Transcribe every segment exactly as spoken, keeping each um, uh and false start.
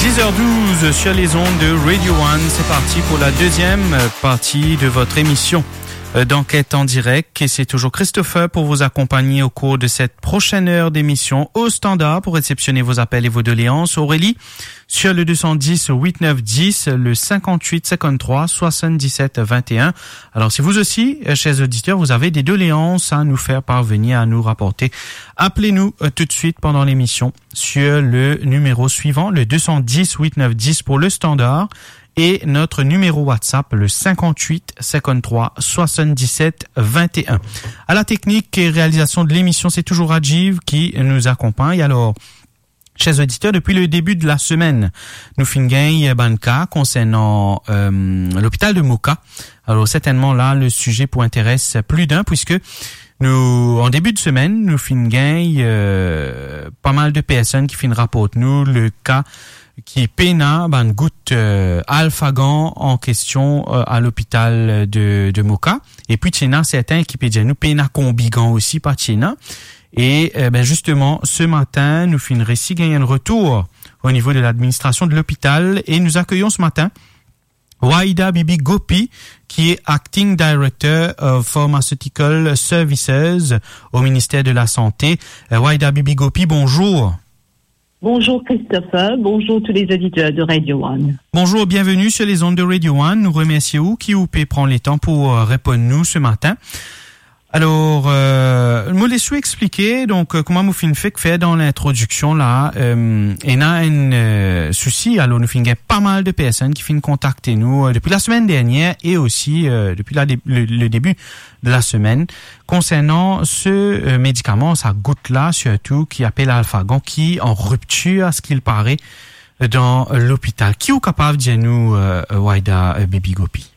Dix heures douze sur les ondes de Radio One, c'est parti pour la deuxième partie de votre émission euh, d'enquête en direct. Et c'est toujours Christopher pour vous accompagner au cours de cette prochaine heure d'émission au standard pour réceptionner vos appels et vos doléances. Aurélie, sur le deux cent dix huit neuf dix, le cinquante-huit cinquante-trois soixante-dix-sept vingt et un. Alors, si vous aussi, euh, chers auditeurs, vous avez des doléances à nous faire parvenir, à nous rapporter, appelez-nous euh, tout de suite pendant l'émission sur le numéro suivant, le deux cent dix huit neuf dix pour le standard, et notre numéro WhatsApp, le cinquante-huit cinquante-trois soixante-dix-sept vingt et un. À la technique et réalisation de l'émission, c'est toujours Rajiv qui nous accompagne. Alors, chers auditeurs, depuis le début de la semaine, nou finn gagn bann ka konsernan euh, l'hôpital de Moka. Alors certainement là, le sujet pour intéresse plus d'un, puisque nou, an debi de semenn, nou finn gagn euh, pas mal de personnes ki finn raport nou le ka ki pena bann gout euh, Alphagan an kestion euh, a lopital de, de Moka. E pi ti ena sertin ki pe dir nou pena Combigan osi, pa ti ena. E euh, ben justement, ce matin, nou finn resi gagn enn retour au niveau de l'administration de l'hôpital et nous accueillons ce matin Waida Bibi Gopi, qui est Acting Director of Pharmaceutical Services au ministère de la Santé. Euh, Waida Bibi Gopi, bonjour. Bonjour Christopher, bonjour tous les auditeurs de Radio One. Bonjour, bienvenue sur les ondes de Radio One. Nou remersie ou ki ou pe pran letan pou euh, reponn nou ce matin. Alors, euh, mo les ou explike, donk, euh, kouma mo finn fek fer dan lintrodiksion la, euh, ena enn euh, sousi, alors nou finn gagn pas mal de personnes ki finn kontakte nou euh, depuis la semaine dernière et aussi euh, depuis la dé- le, le début de la semaine, konsernan se euh, medikaman, sa gout la, sirtou ki apel Alphagan, ki an riptir, a ce qu'il paraît, dan lopital. Ki ou kapav dir nou, euh, Waida euh, Bibi Gopi?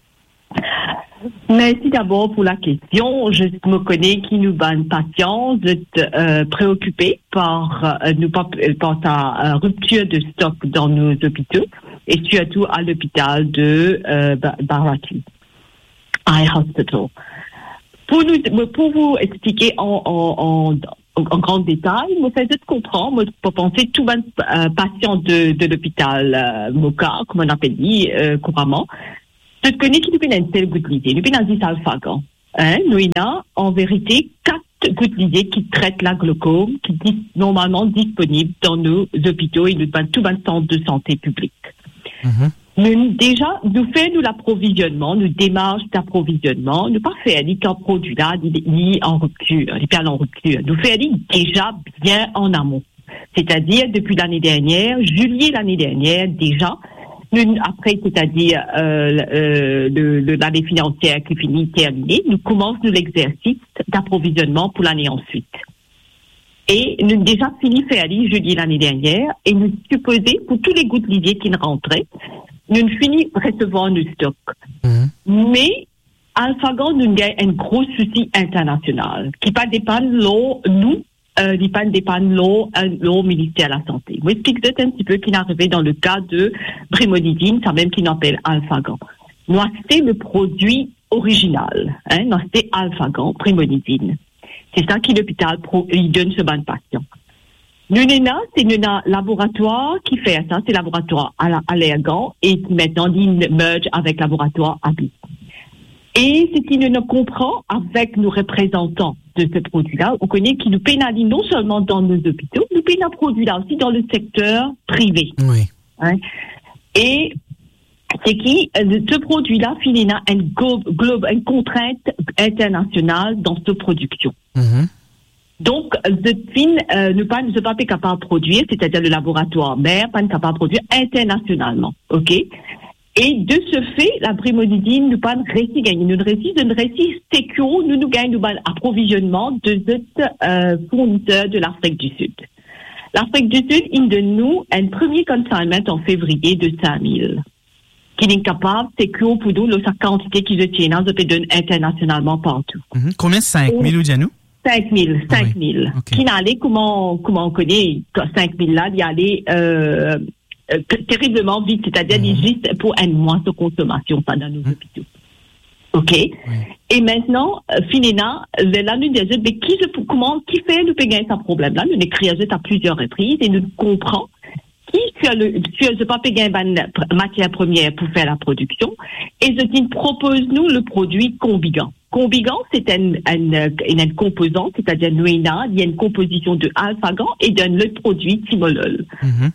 Merci d'abord pour la question. Je me connais ki nou bann pasian, zot euh, préoccupé par euh, nou pa, par sa euh, rupture de stock dans nos hôpitaux et surtout à l'hôpital de euh, Ba- Baharati, Eye Hospital. Pour nous, pour vous expliquer en, en, en, en grand détail, mo fer zot konpran, mo pa panse tou bann euh, pasian de, de l'hôpital euh, Moka, kouma nou apel li euh, kouramman, zot kone ki nou pena enn sel gout lizet, nou pena zis Alphagan. Hein? Nou ena, an verite, kat gout lizet ki tret laglaucome, ki dis- normalman disponib dan nou zopito e nou bann, tou bann sant de sante piblik. Mhm. Nou deza, nou fer nou laprovizionman, nou demars d'aprovizionman, nou pa fer li kan prodwi la, li, li an riptir, li pe al an riptir. Nou fer li deza bien an amon. C'est-à-dire, depuis l'année dernière, juillet l'année dernière, déjà, nous, après, c'est-à-dire euh, euh, le- le- l'année financière qui finit terminée, nous commençons l'exercice d'approvisionnement pour l'année ensuite. E nou deja fini fer li juillet l'année dernière e nou sipoze pou tou le gout lizet ki rantre, nou fini resevwar nou stok. Mhm. Me Alphagan nou gagn enn gro sousi internasional ki pa depann lor nou, euh, li pa depann lor, euh, lor Minister Lasante. Mo explik zot enn tipe ki arive dan le ka de brimonidine, sa mem ki nou apel Alphagan. Nou aste le prodwi original, hein, nou aste Alphagan, brimonidine. Se sa ki lopital pro- li donn so bann pasian. Nou ena, se nou ena laboratwar ki fer sa, se laboratwar Ala- Allergan e ki aster li merge avek laboratwar Abbott. E seki nou ena konpran avek nou reprezantan de se prodwi la, ou kone ki nou pena li non selman dan nou zopito, nou pena prodwi la osi dan le sekter prive. Oui. Hein? E se ki euh, se prodwi la finn ena enn glo- glo- enn kontrint internasional dan so prodiksion. Mhm. Donk, euh, zot finn, euh, nou pa, nou pa pe kapav prodwir, c'est-à-dire le laboratwar mer pa kapav prodwir internasionalman, ok? E de se fe, la brimonidine, nou pa resi gagn, nou resi, nou resi secure, nou, nou gagn nou bann aprovizionman de zot euh, fourniser de Lafrik di Sid. Lafrik di Sid, inn donn nou enn premie consignment an fevriye de cinq mille. Ki inn kapav secure pou nou lor sa kantite ki zot ti ena, zot pe donn internasionalman partou. Mhm. Konbien? Cinq mille, ou dir nou? Cinq mille, oui. Cinq mille. Ok. Ki ale, kouma, kouma ou kone, cinq mille la, li ale euh, euh, te- terriblement vite, c'est-à-dire Mhm. Juste pour un mois de consommation, ça, dans nos Mhm. Hôpitaux. Ok? Oui. E aster, euh, finn ena, euh, la nou dir zot, me ki, kouma, ki fer nou pe gagn sa problem la? Nou ekrir zot a plizier repriz e nou konpran ki sir le, sir zot pa pe gagn bann pr-, matier premier pou fer laprodiksion, e zot inn propoz nou le prodwi Combigan. Combigan, se enn, enn, enn, enn konpozan, setadir nou ena, li enn konpozision de alfagan e d'enn lot prodwi timolol. Mhm.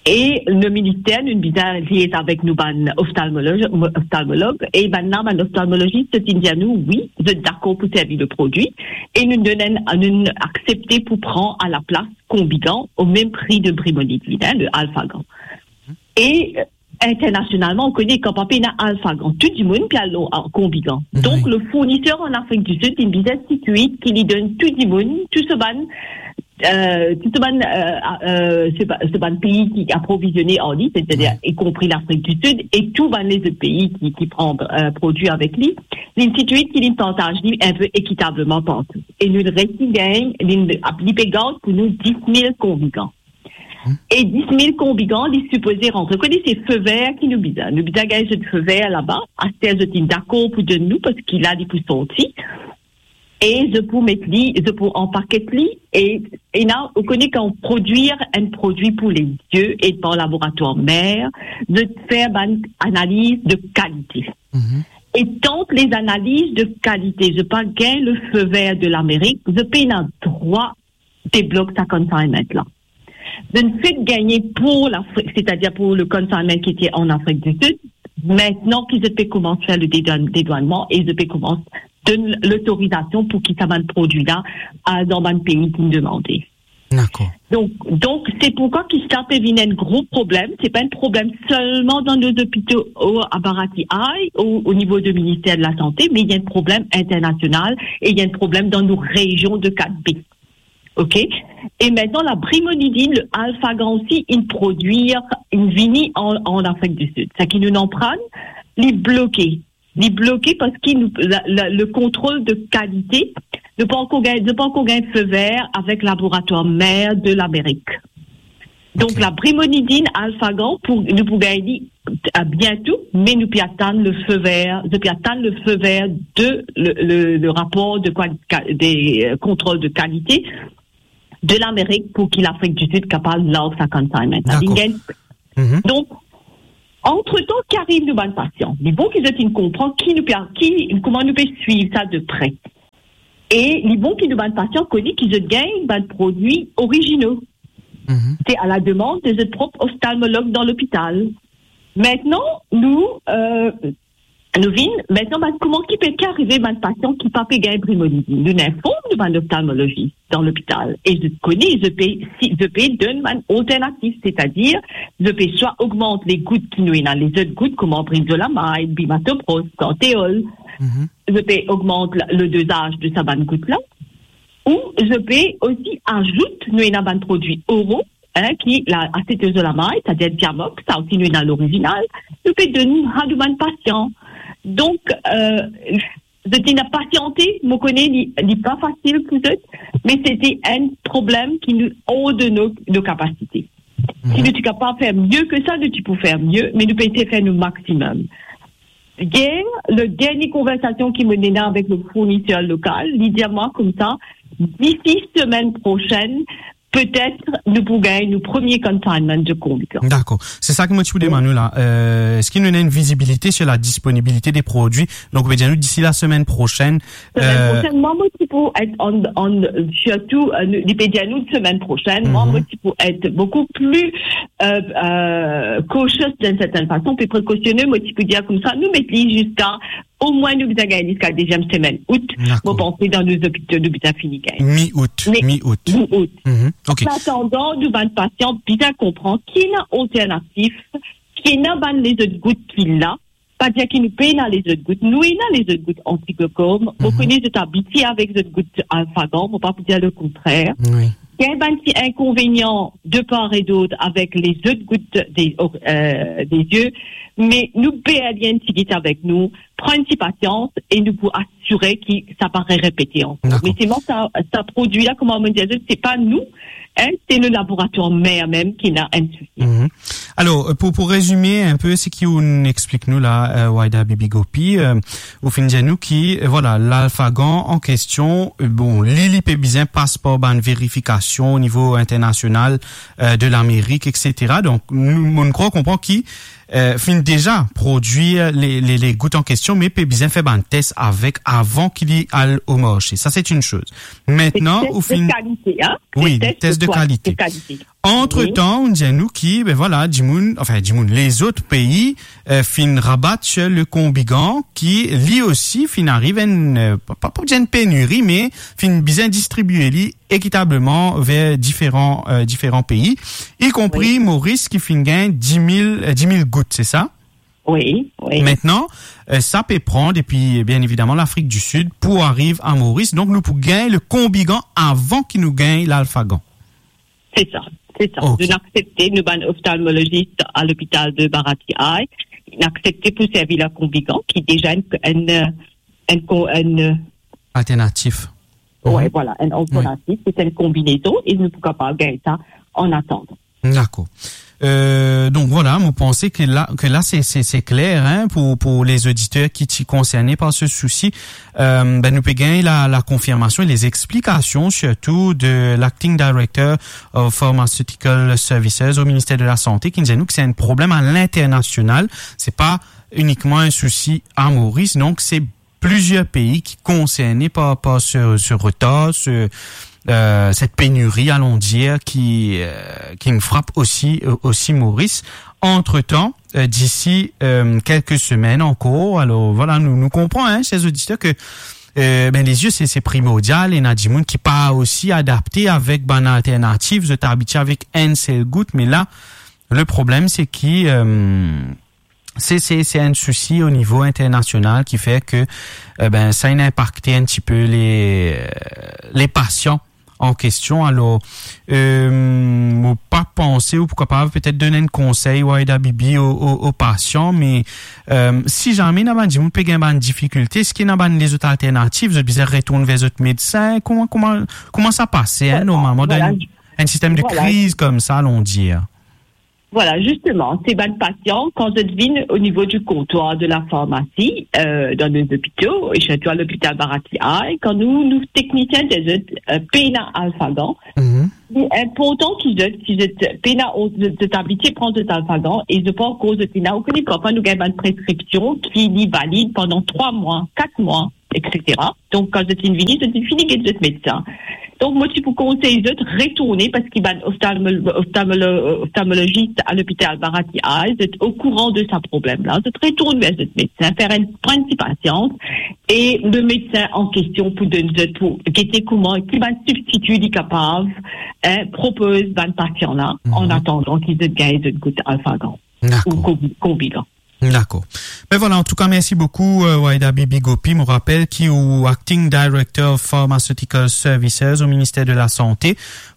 E le minister, nou bizin liaze avek nou bann oftalmolog, oftalmolog, e bann la, bann oftalmologis, zot inn dir nou, wi, zot dakor pou servi le prodwi, e nou donn enn, nou aksepte pou pran a laplas Combigan o mem pri de brimonidine, hein, le alfagan. E, euh, internasionalman, ou kone kan pa pena alfagan, tou dimoun pe al lor, a, Combigan. Wi. Donk, le fourniser an Afrik di Sid, inn bizin sirkwi ki li donn tou dimoun, tou so bann, euh, tou so bann, euh, a, euh, so ba-, so bann pei ki aprovizione ar li, setadir, wi, ikonpri Lafrik di Sid, e tou bann lezot pei ki, ki pran, euh, prodwi avek li, li inn sirkwi ki li partaz li enn pe ekitableman partou. E nou resi gagn, li, li pe gard pou nou dis mil Combigan. E dis mil Combigan, li sipoze rantre. Ou kone se fe ver ki nou bizin. Nou bizin gagn zot fe ver laba. Aster zot inn dakor pou donn nou, parski la li pou sorti. E zot pou met li, zot pou anpaket li. E, e la, ou kone kan ou prodwir enn prodwi pou lezie e par laboratwar mer, zot fer bann analiz de kalite. Mhm. E tant les analyses de qualité, zot pa gagn le feu vert de Lamerik, zot pena drwa deblok sa consignment la. Zot fek gagne pou Lafrik, setadir pou le consignment ki ti an Afrik di Sid. Aster ki zot pe koumans fer le dedwann-, dedwannman e zot pe koumans donn lotorizasion pou ki sa bann prodwi la al dan bann pei ki demande. Dakor. Donk, donk, se poukwa ki sa pe vinn enn gro problem. Se pa enn problem selman dan nou lopitalo a Barati Ay, o, o nivo de Minister de Lasante, me li enn problem internasional e li enn problem dan nou rezion de kat B. Ok? E aster, la brimonidine, le alfagan osi, inn prodwir, inn vini an, an Afrik di Sid. Seki nou inn aprann, li bloke. Li bloke parski nou, la, la, le kontrol de kalite, nou pa ankor gagn, nou pa ankor gagn fe ver avek laboratwar mer de Lamerik. Donk, ok, la brimonidine alfagan, pou, nou pou gagn li, euh, biento, me nou pe atann le fe ver, nou pe atann le fe ver de le, le, le rapor de kwali-, ka-, de, euh, kontrol de kalite de Lamerik pou ki Lafrik di Sid kapav larg sa consignment la. Dakor. Li gagn. Mhm. Donk, antretan, ki ariv nou bann pasian? Li bon ki zot inn konpran ki nou pe, ki, kouma nou pe swiv sa de pre. E li bon ki nou bann pasian kone ki zot gagn bann prodwi orizino. Mhm. Se a la demann de zot prop oftalmolog dan lopital. Aster, nou, euh, nou vinn, aster, bann, kouma ki pe, ki arive bann pasian ki pa pe gagn brimonidine? Nou inform nou bann oftalmologis dan lopital. E zot kone, zot pe, si, zot pe donn bann alternativ, setadir, zot pe swa ogmant le gout ki nou ena, lezot gout, kouma brinzolamide, bimatopros, santeol. Mhm. Zot pe ogmant la, le dozaz de sa bann gout la, ou zot pe osi azout, nou ena bann prodwi oro, hein, ki la asetazolamide, setadir Diamox, sa osi nou ena lorizinal, nou pe donn sa nou bann pasian. Donk, euh, zot inn pasiante, mo kone li, li pa fasil pou zot, me se ti enn problem ki nou or de nou, nou kapasite. Mhm. Si nou ti kapav fer mie ki sa, nou ti pou fer mie, me nou pe esey fer nou maximum. Yer, le dernie konversasion ki mo ena avek le fourniser lokal, li dir mwa koumsa, disi semenn prosenn, petet nou pou gagn nou premie consignment de Combigan. Dakor. Se sa ki mo ti pou demann ou la. Euh, eski nou ena enn vizibilite sur la disponibilite de prodwi? Donk, ou pe dir nou disi la semenn prosenn, semenn, euh, prosenn, mwa, mo ti pou et an, an, sirtou, euh, nou, li pe dir nou semenn prosenn, mwa, mhm, mo ti pou et boukou pli, euh, euh, cautious dan enn sertenn fason, pli prekosione, mo ti pou dir koumsa, nou met li ziska, omwin nou bizin gagn ziska deziem semenn out, dakor, mo panse dan nou lopitalo, nou bizin fini gagn. Mi-out, me, mi-out. Mi-out. Mhm. Ok. An atandan, nou bann pasian bizin konpran ki ena alternativ, ki ena bann lezot gout ki la, pa dir ki nou pena lezot gout. Nou ena lezot gout anti-glaucome. Mo, mhm, kone zot abitie avek zot gout alfagan, mo pa pou dir lekontrer. Wi. Gagn bann ti inkonvenian de par e dot avek lezot gout de, euh, de zie, me nou pe al enn tigit avek nou, pran enn ti pasians e nou pou asire ki sa pa re-, repete ankor. Dakor. Me selman sa, sa prodwi la, kouma mo dir, se pa nou, hein, se le laboratwar mer mem ki ena enn sousi. Mhm. Alor, euh, pou, pou rezime enn pe seki ou'nn explik nou la, euh, Wahida Bibi Gopi, euh, ou finn dir nou ki, euh, vwala, lalfagan an kestion, euh, bon, li, li pe bizin pas par bann verifikasion o nivo internasional, euh, de Lamerik, et cetera. Donk, nou, mo'nn krwar konpran ki, euh, finn deza prodwir le, le, le gout an kestion, me pe bizin fer bann tes avek avan ki li al o marse. Sa, se enn soz. Mintnan, ou finn... Tes de kalite, hein? Wi, tes de kalite. Antretan, ou dir nou ki, ben vwala, dimoun, anfin, dimoun, lezot pei, euh, finn rabat sir le konbigan, ki li osi finn ariv enn, euh, pa, pa pou dir enn peniri, me finn bizin distribie li ekitableman ver diferan, euh, diferan pei, ikonpri Moris ki finn gagn dis mil, euh, dis mil gout, se sa? Wi, wi. Mintnan, euh, sa pe pran depi, bien evidaman, Lafrik di Sid pou ariv a Moris. Donk, nou pou gagn le konbigan avan ki nou gagn lalfagan. Se sa, se sa. Ok. Nou aksepte, nou bann oftalmolozis a lopital de Bharati Eye, nou aksepte pou servi le konbigan, ki deza enn, enn, enn ko-, enn, alternatif. Wi, vwala, enn alternatif, se enn konbinezon, e nou pou kapav gagn sa an atandan. Dakor. Euh, donk vwala, mo panse ke la, ke la se, se, se kler, hein, pou, pou lezoditer ki ti konserne par se sousi. Euh, ben, nou pe gagn la, la konfirmasion e lezexplikasion, sirtou de l'Acting Director of Pharmaceutical Services o Minister de Lasante, ki dir nou ki se enn problem a linternasional. Se pa inikman enn sousi a Moris. Donk, se plizier pei ki konserne par, par se, se retar, se, euh, set peniri, alon dir, ki, euh, ki finn frap osi, euh, osi Moris. Antretan, euh, disi, euh, kelke semenn ankor, alor, vwala, nou, nou konpran, hein, ser oditer, ke, euh, ben, lezie, se, se primordial, ena dimoun ki pa osi adapte avek bann alternatif, zot abitie avek enn sel gout, me la, le problem, se ki, euh, se, se, se enn sousi o nivo internasional ki fer ke, eh ben, sa inn inpakte enn tipe le, le pasian an kestion. Alor, euh, mo pa panse ou pou kapav petet donn enn konsey, Wahida Bibi, o, o, o pasian, me, euh, si zame ena bann dimoun pe gagn bann difikilte, eski ena bann lezot alternatif, zot bizin retourn ver zot medsin? Kouma, kouma, kouma sa pase, hein, normalman, dan enn, enn sistem de kriz koumsa, alon dir? Vwala, zisteman, se bann pasian, kan zot vinn o nivo di kontwar de lafarmasi, euh, dan nou lopito, e sirtou a lopital Bharati Eye, kan nou, nou teknisien dir zot, euh, pena alfagan, li inportan ki zot, ki zot pena, zot, zot abitie pran zot alfagan, e zot pa ankor, zot ena, ou kone, parfwa nou gagn bann preskripsion ki li valid pandan trwa mwa, kat mwa, et cetera. Donk, kan zot finn vini, zot finn fini get zot medsin. Donk, mo ti pou konsey zot retourne, parski bann oftalmo-, oftalmolo-, oftalmolozis a lopital Bharati Eye, zot okouran de sa problem la. Zot retourn ver zot medsin, fer enn, pran enn ti pasians, e le medsin an kestion pou donn zot, pou gete kouma, ki bann sibstiti li kapav, hein, propoz bann pasian la, an atandan ki zot gagn zot gout alfagan ou konbi-, konbigan. Dakor. Ben vwala, antouka, mersi boukou, euh, Wahida Bibi Gopi. Mo rapel ki ou Acting Director of Pharmaceutical Services o Minister de Lasante,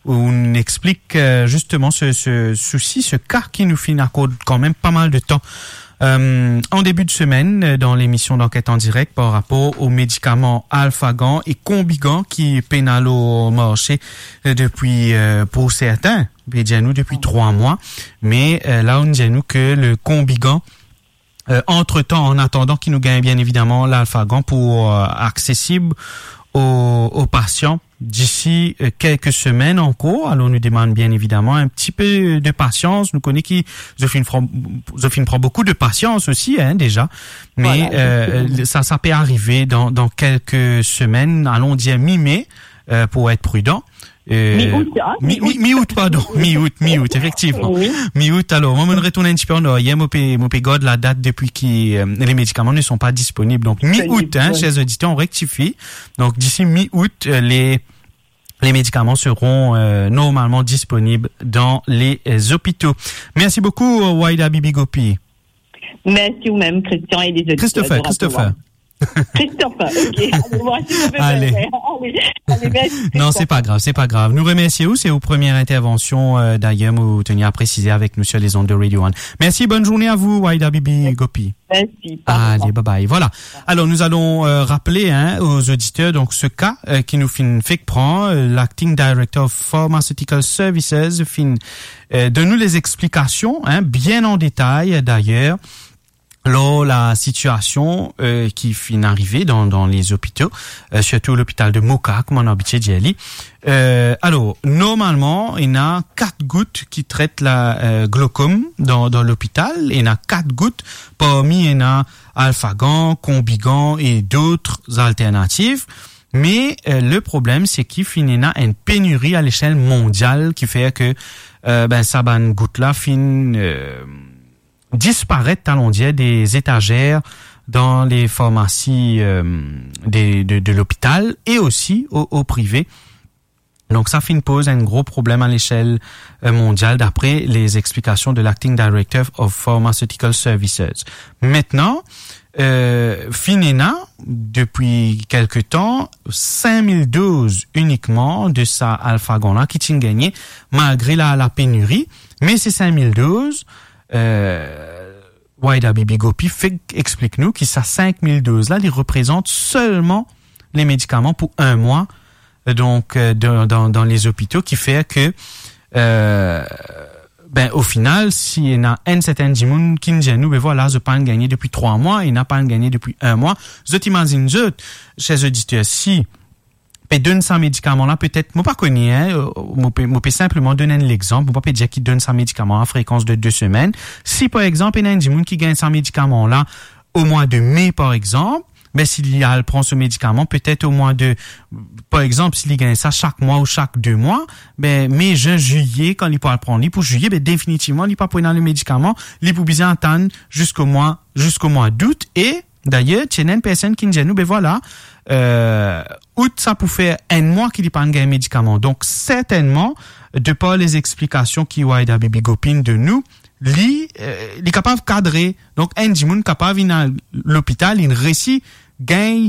ou'nn explik, euh, zisteman se, se sousi, se ka ki nou finn akord kanmem pa mal de tan, euh, an debi de semenn, euh, dan lemision d'Enquête en direct par rapor o medikaman alfagan e konbigan ki pena lor marse, euh, depi, euh, pou sertin, pe dir nou depi trwa mwa, me, euh, la, ou'nn dir nou ke le konbigan, euh, antretan, an atandan ki nou gagn, bien evidaman, lalfagan pou, euh, aksesib o, o pasian disi, euh, kelke semenn ankor. Alor, nou demann, bien evidaman, enn tipe de pasians. Nou kone ki zot finn pran, zot finn pran boukou de pasians osi, hein, deza. Me, euh, sa, sa pe arive dan, dan kelke semenn, alon dir mi-me, euh, pou et pridan. Euh, mi-out, hein? Mi-, mi-, mi-out, pardon. Mi-out, mi-out, efektivman. Wi. Mi-out, alor, mwa, mo retourn enn tipe an aryer, mo pe, mo pe gard ladat depi ki, euh, les médicaments ne sont pas disponibles. Donc, mi-out, hein, chers auditeurs, on rectifie. Donc, d'ici mi-août, euh, les, les médicaments seront, euh, normalement disponibles dans les, euh, hôpitaux. Merci beaucoup, euh, Wahida Bibi Gopi. Merci ou mem, Christian, e les auditeurs de Radio One. Christopher, Christopher. Christophe, ok. Allez, voici, je vais Allez. faire. Allez, allez, merci, Non, Christophe. c'est pas grave, c'est pas grave. Nou remersie ou, se ou premie intervansion, euh, d'ailleurs, mo teni a presize avek nou sur les ondes de Radio One. Merci, bonne journée à vous, Wahida Bibi Gopi. Merci, pardon. Allez, bye bye. Voilà. Alors, nous allons, euh, rappeler, hein, aux auditeurs, donc, ce cas, euh, ki nou finn fek pran, euh, l'acting director of Pharmaceutical Services finn, euh, donn nou les explications, hein, bien en détail, d'ailleurs, lor la sitiasion, euh, ki finn arive dan, dan les hôpitaux, euh, sirtou lopital de Moka, kouma nou abitie dir li. Euh, alor, normalman, ena kat gout ki tret la, euh, glaucome dan, dan lopital. Ena kat gout, parmi ena Alphagan, Combigan e dot alternativ. Me, euh, le problem, se ki finn ena enn peniri a lesiel mondial ki fer ke, euh, ben, sa bann gout la finn, euh, disparet, alon dir, des étagères dans les pharmacies, euh, de, de, de l'hôpital et aussi au, au privé. Donc, sa finn poz enn gro problem a lesiel, euh, mondial, d'après les explications de l'acting director of Pharmaceutical Services. Maintenant, euh, finn ena, depi kelke tan, cinq mille doses uniquement de sa Alphagan la ki ti'nn gagne, malgre la, la peniri. Me se cinq mille doses, euh, Wahida Bibi Gopi fek explik nou ki sa cinq mille doses la, li reprezant selman le medikaman pou enn mwa, donk, euh, dan, dan, dan les hôpitaux, ki fer ke, euh, ben, o final, si ena enn sertin dimoun ki'nn dir nou, be vwala, zot pa'nn gagne depi trwa mwa, ena pa'nn gagne depi enn mwa, zot imazinn zot, cher oditer, si pe donn sa medikaman la, petet, mo pa kone, hein, euh, mo pe, mo pe sinpleman donn enn lexanp, mo pa pe dir ki donn sa medikaman a frekans de de semenn. Si, par exanp, ena enn dimoun ki gagn sa medikaman la o mwa de me, par exanp, be, si li al pran so medikaman, petet o mwa de, par exanp, si li gagn sa sak mwa ou sak de mwa, be, me, zin, zilye, kan li pou al pran li pou zilye, be, definitivman, li pa pou ena le medikaman, li pou bizin atann ziska mwa, ziska mwa dout, e Dayer, ti ena enn personn ki'nn dir nou, be vwala, euh, out sa pou fer enn mwa ki li pa'nn gagn medikaman. Donk, sertennman, de par les explikasion ki Wahida Bibi Gopi inn donn nou, li, euh, li kapav kadre. Donk, enn dimoun kapav inn al lopital, inn resi gagn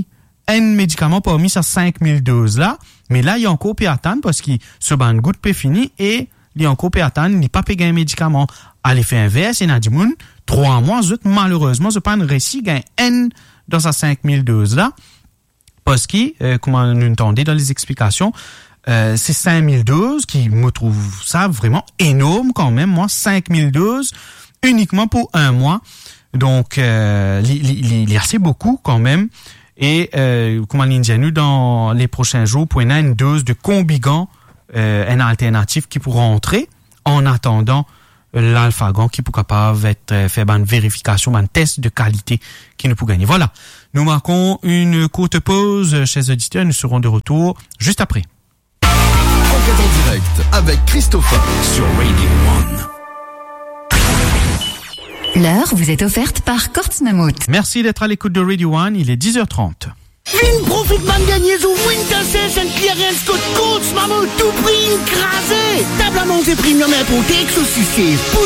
enn medikaman parmi sa cinq mille doses la, me la, li ankor pe atann parski so bann gout pe fini e li ankor pe atann, li pa pe gagn medikaman. A lefe invers, ena dimoun, trwa mwa, zot, malerezman, zot pa'nn resi gagn enn dan sa cinq mille doses la, parski, euh, kouma nou tande dan les explikasion, euh, se cinq mille doses ki, mo trouv sa vreman enorm kanmem, mwa, cinq mille doses inikman pou enn mwa. Donk, euh, li, li, li, li ase boukou kanmem. E, euh, kouma li'nn dir nou, dan le prosin zour, pou ena enn doz de Combigan, euh, enn alternativ ki pou rantre, an atandan, euh, l'Alphagan ki pou kapav et, euh, fer bann verifikasion, bann tes de kalite ki nou pou gagne. Vwala, nou markon enn kourt poz, euh, cher oditer, nous serons de retour juste après. Enquête en direct avec Christopher sur Radio One. L'heure vous est offerte par Courts Mammouth. Merci d'être à l'écoute de Radio One, il est dix heures trente. Vinn profit bann dernie zour Winter Sale enn clearance kot Courts Mammouth, tou pri inn kraze. Tab a manze premium inporte ek sos sise, pou